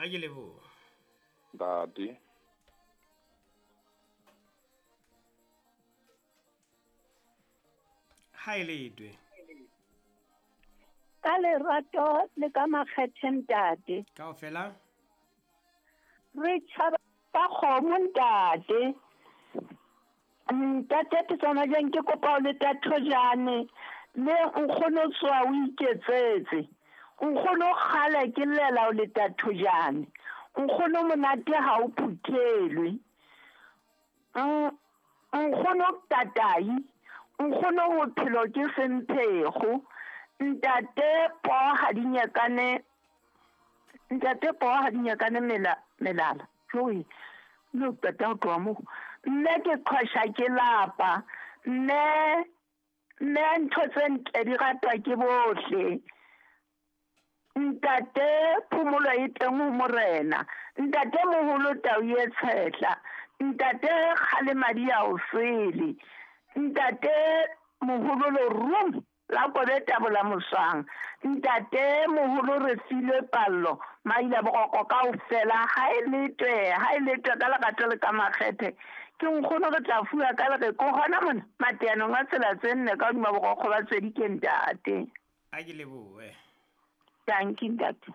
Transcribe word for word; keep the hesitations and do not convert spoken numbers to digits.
A ke lebohe. Ntate. Ha e letwe. Ka lerato le ka makgethe ntate. Kaofela? Re tjhaba ka kgomo ntate. Ntate ke tsona jeng ke kopa o le tathojane le nkgono tswa o iketsetse. Nkgono kgale ke llela o le tathojane. Nkgono monate ha o phuthelwe. Nkgono tatai, nkgono bophelo ke semphego. Ntate po ha di nyakane, ntate po ha di nyakane mela melala. Joi, no tata o tloha mo. Mme ke qhosha ke lapa. Mme mme ntho tse ntle di ratwa ke bohle. Ntate phomolo e teng ho morena. Ntate moholo tau e tshehla. Ntate kgale madi a o sele. Ntate moholo lerumo la kobe tabola moswang. Ntate moholo re filwe pallo maila boroko kaofela ha e letwe ha e letwe ka lerato le ka makgethe. Ke nkgono re tla fuwa ka lere ko hona mona mateanong a tsela tse nne ka hodima borokgo ba tswedi ke ntate. A ke lebohe. Thank you ntate.